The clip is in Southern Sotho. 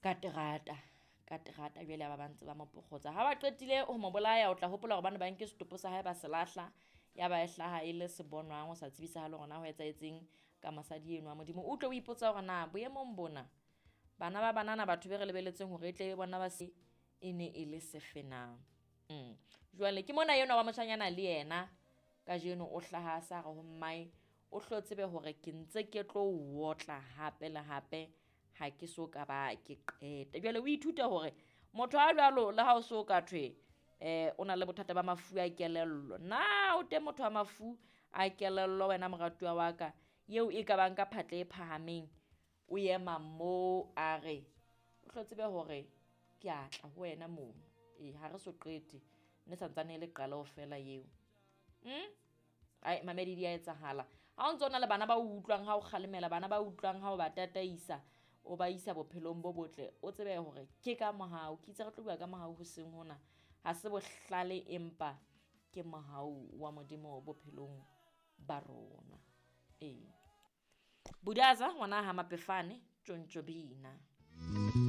Ka terata, ka terata jwale ba ba ntse ba mo pokgotsa. Ha ba qetile ho mo bolaya, o tla hopola hore ba ne ba nke setopo sa hae ba se lahla, ya ba e hlaha e le sebonwang ho sa tsebisahale hore na ho etsahetseng ka mosadi eno wa Modimo. O utlwe o ipotsa hore na boemong bona bana ba banana batho be re lebeletseng hore e tle be bona ba se e ne e le sefe na. Jwale ke mona enwa wa moshanyana le yena kajeno o hlaha a sa re ho mmae o hlo tsebe hore ke ntse ke tlo o otla hape le hape ha ke so ka ba ke qeta. Jwale o ithute hore motho a jwalo le ha o so ka thwe o na le bothata ba mafu a kelello. Na o teng motho wa mafu a kelello wena moratuwa wa ka eo e ka bang ka phatla e phahameng o ema moo a re o hlo tsebe hore ke a tla ho wena mono. Ee, ha re so qete ne santsane e le qaleho fela eo. Ai mamedi di a etsahala. Ha o ntso na le bana ba o utlwang ha o kgalemela, bana ba utlwang ha o ba tataisa, o ba isa bophelong bo botle, o tsebe hore ke ka mohau. Ke itse re tlo bua ka mohau hoseng hona. Ha se bohlale empa ke mohau wa Modimo bophelong ba rona. Ee. Budaza ngwana ha Mapefane tjontjo bina.